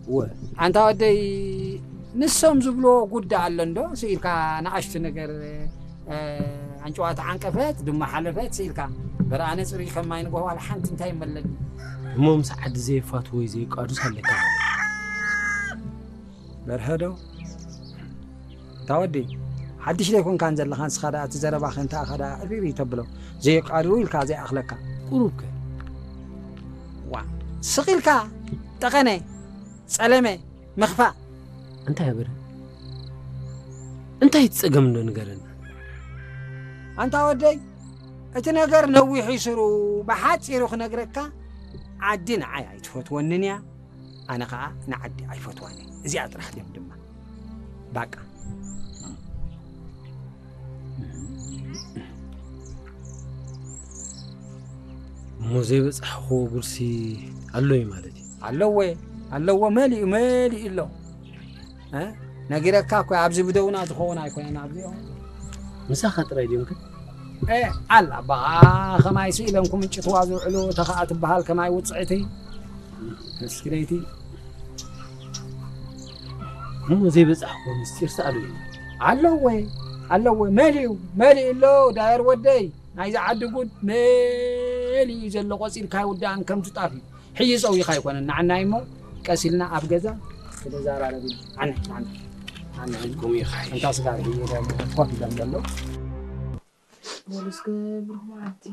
እወ። ኣንታ ወደይ፣ ንሶም ዝብልዎ ጉዳ ኣሎ እንዶ፣ ስኢልካ ንኣሽቱ ነገር፣ እ፣ ኣንጭዋ ተዓንቀፈት፣ ድማ ሓለፈት፣ ስኢልካ። በርኣነ ጽሩይ ከም ማይ ንጎሆ ዋላ ሓንቲ እንታይ ይመለኒ። እሞ ምስ ዓዲ ዘይፋትዎ ወይ ዘይቃዱስ ኣለካ። በርሀ ዶ? እታ ወዲ፣ ሓድሽ ዘይኮንካን ዘለኻ፣ ንስኻ ደኣ እቲ ዘረባኸ እንተ ኣኻ ደኣ እሪሪ ተብሎ። ዘይቃድው ኢልካ ዘይኣኽለካ። ቁሩብከ? ዋ፣ ስቕ ኢልካ፣ ጠቐነ፣ ጸለመ፣ ምኽፋእ። እንታይ ኣበረ? እንታይ እቲ ጸገም እንዶ ንገረና። ኣንታ ወደይ፣ እቲ ነገር ነዊሕ እዩ ስሩ፣ ብሓጺሩ ክነግረካ፣ ዓዲ ንዓይ ኣይትፈትወንን እያ። ኣነ ኸኣ ንዓዲ ኣይፈትዋን እየ። እዚኣ ጥራሕ ደምድማ። ባቃ። እሞ ዘይበጻሕኽዎ ጉድሲ ኣሎ እዩ ማለት እዩ። ኣለዎ፣ ኣለዎ፣ መሊኡ፣ መሊኡ ኣሎ። እ? ነጊረካ እኮ ኣብዚ ብደውና ዝኸውን ኣይኮነን ኣብዚ። ምሳኻ ጥራይ ድዮም ከ? እ፣ ኣላ ኣባኻ ከማይ ስኢሎም ክምጭትዋ ዝውዕሉ ተኸኣ ትበሃል ከማይ ውጽዕቲ። እስኪ ለይቲ። እሞ ዘይበጻሕክዎ ምስጢር ሰኣሉ እዩ። ኣለዎ፣ ኣለዎ፣ መሊኡ፣ መሊኡ ኣሎ ዳየር ወደይ። ናይዚ ዓዲ ጉድ መሊኡ ዘሎ ቆጺርካ ኣይውዳእን ከምቲ ጣፍ እዩ። ሕጂ ጸዊኻ ኣይኮነን ንዓናይ እሞ ቀስ ኢልና ኣብ ገዛ ክንዘራረብ ኢና። ዓነ፣ ዓነ፣ ዓነ። ኢልኩም ኢኻ። እንታ ስጋ ርሂ ኮፍ ኢሎም ዘለዉ። በሉ እስከ ብሩኽ መዓልቲ።